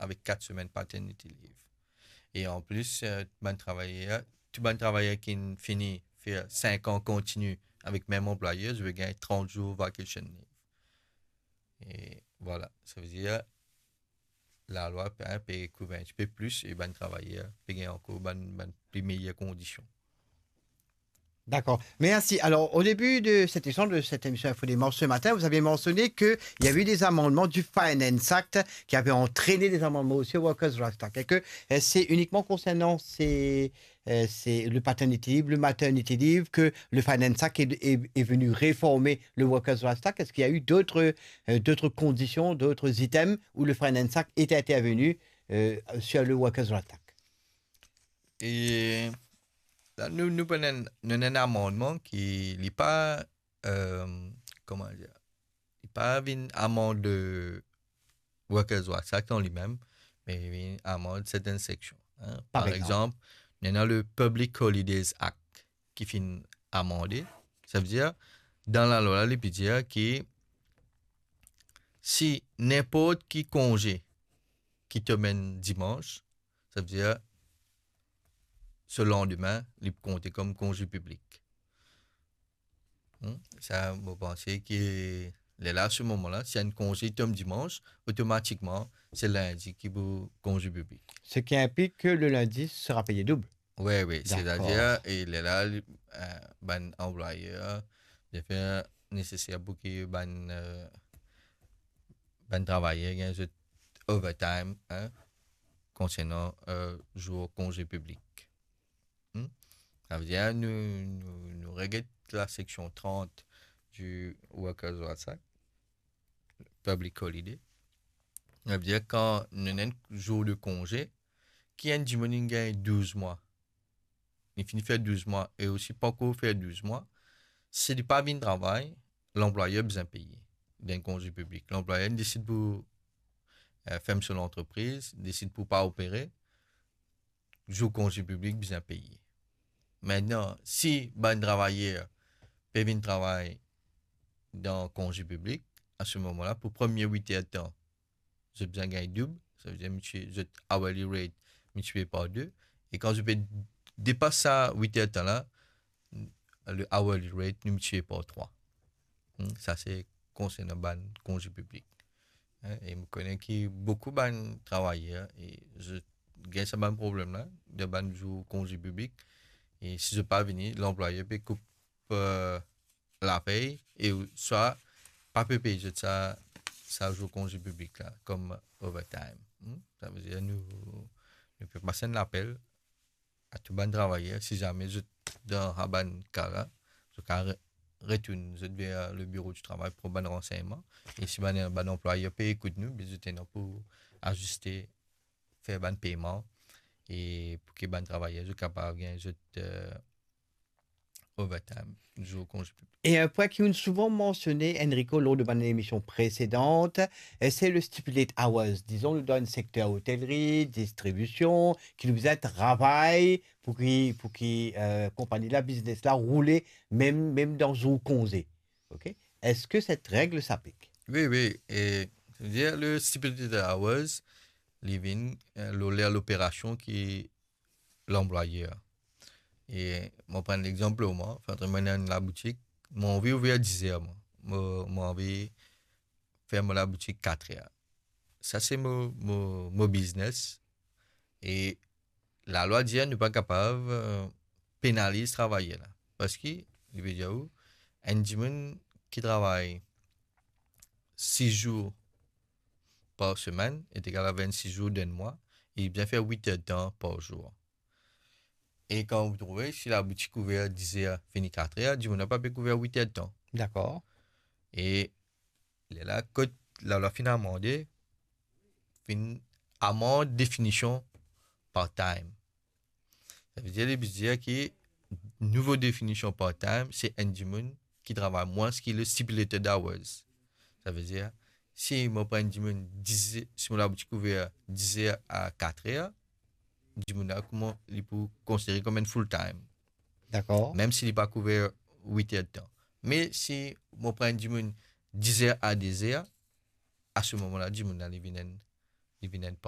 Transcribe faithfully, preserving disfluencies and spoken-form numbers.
avek kat semenn paternity leave. E anplis, eh, bann travayer, tou bann travayer ki fini fer sink an kontini avek mem anplwayer, zot pe gagn trant zour vacation leave. E vwala, savedir lalwa pe, pe kouver enn tipe plis e bann travayer pe gagn ankor bann, bann pli meyer kondision. D'accord, merci. Alors, au début de cet échange, de cette émission Info Démarche ce matin, vous avez mentionné qu'il y avait eu des amendements du Finance Act qui avaient entraîné des amendements aussi au Workers' Rights Act. Et que euh, c'est uniquement concernant ces, euh, c'est le paternity leave, le maternity leave, que le Finance Act est, est- est venu réformer le Workers' Rights Act. Est-ce qu'il y a eu d'autres euh, d'autres conditions, d'autres items où le Finance Act est intervenu euh, sur le Workers' Rights Act? E la, nou, nou pran enn, nou ena enn amandman ki li pa, euh, koman dir, li pa vinn amand Workers' Rights Act an limem, me li vinn amand sertenn seksion. Par Par example. Example, nou ena le Public Holidays Act ki finn amande. Savedir, dan lalwa la, li pe dir ki si ninport ki konze ki tom enn dimans, savedir, so landime, li pou konte kom konze piblik. Hmm, sa, mo panse ki lerla, se moman la, si enn konze tom dimans, otomatikman, se lindi ki pou konze piblik. Ce qui implique que le lundi sera payé double. Wi, wi, Dakor. Setadir, e lerla, li, eh, bann anplwayer, li fer neseser pou ki bann, eh, bann travayer gagn zot overtime, hein, konsernan, eh, zour konze piblik. Hmm? Savedir, nou, nou, nou reget la seksion trant du Workers' Rights Act, public holiday. Savedir, kan nou ena enn zour de konze, ki enn dimoun inn gagn douz mwa, li fini fer douz mwa e osi pankor fer douz mwa, si li pa vinn travay, lanplwayer bizin peye. Dan konze piblik, lanplwayer desid pou, eh, ferm so lantrepriz, desid pou pa opere, zour konze piblik bizin peye. Aster, si bann travayer pe vinn travay dan konze piblik, a se moman la, pou premie wit er tan, zot bizin gagn doub, savedir, miltiplie zot hourly rate, miltiplie par de, e kan zot pe depas sa wit er tan la, le hourly rate, nou miltiplie par trwa. Hmm, sa se konsernan bann konze piblik. Hein, e mo kone ki boukou bann travayer, e zot gagn sa bann problem la, dan bann zour konze piblik. E si zot pa vini, lanplwayer pe koup, eh, lapey, e swa pa pe pey zot sa, sa zour konze piblik la, kom overtime. Hmm? Savedir, nou, nou pe pas enn lapel a tou bann travayer, si zame zot dan sa bann ka la, zot kav re-, retourn zot ver le biro di travay pou pran bann ransegnman. E si bann, bann anplwayer pe ekout nou, be zot ena pou aziste, fer bann peyman, e pou ki bann travayer zot kapav gagn zot, eh, overtime, zour konze piblik. Et un point qui est souvent mentionné, Enrico, lors de mon émission précédente, euh, c'est le stipulated hours. Disons, dans le secteur hôtellerie, distribution, ki nou bizin travay pou ki, pou ki, euh, konpagni la, biznes la roule, mem, mem dan zour konze. Ok? Est-ce que cette règle s'applique? Wi, wi. E, savedir, le stipulated hours, li vinn, eh, lor ler loperasion ki lanplwayer. E mo pran lexanp mwa, par exanp, mo ena enn laboutik, mo anvi ouver diz er, mwa. Mo, mo anvi ferm mo laboutik kat er. Sa se mo, mo, mo biznes. E lalwa dir nou pa kapav, eh, penaliz travayer la. Parski, li pe dir ou, enn dimoun ki travay sis zour par semenn, est égal à vingt-six jours d'un mois, e li bizin fer wit er tan par zour. E kan ou trouve, si laboutik ouver diz er, fini kat er, dimoun la pa pe kouver wit er tan. Dakor. E lerla, kot lalwa finn amande, finn amand definision part-time. Savedir, li bizin dir ki nouvo definision part-time, se enn dimoun ki travay mwins ki le stipulated hours. Savedir, si mo pran enn dimoun diz, si mo laboutik ouver diz er a kat er, dimoun la, kouma li pou konsidere kom enn full-time. Dakor. Mem si li pa kouver wit er tan. Me si mo pran enn dimoun diz er a de er, a se moman la, dimoun la, li vinn enn, li vinn enn part-time.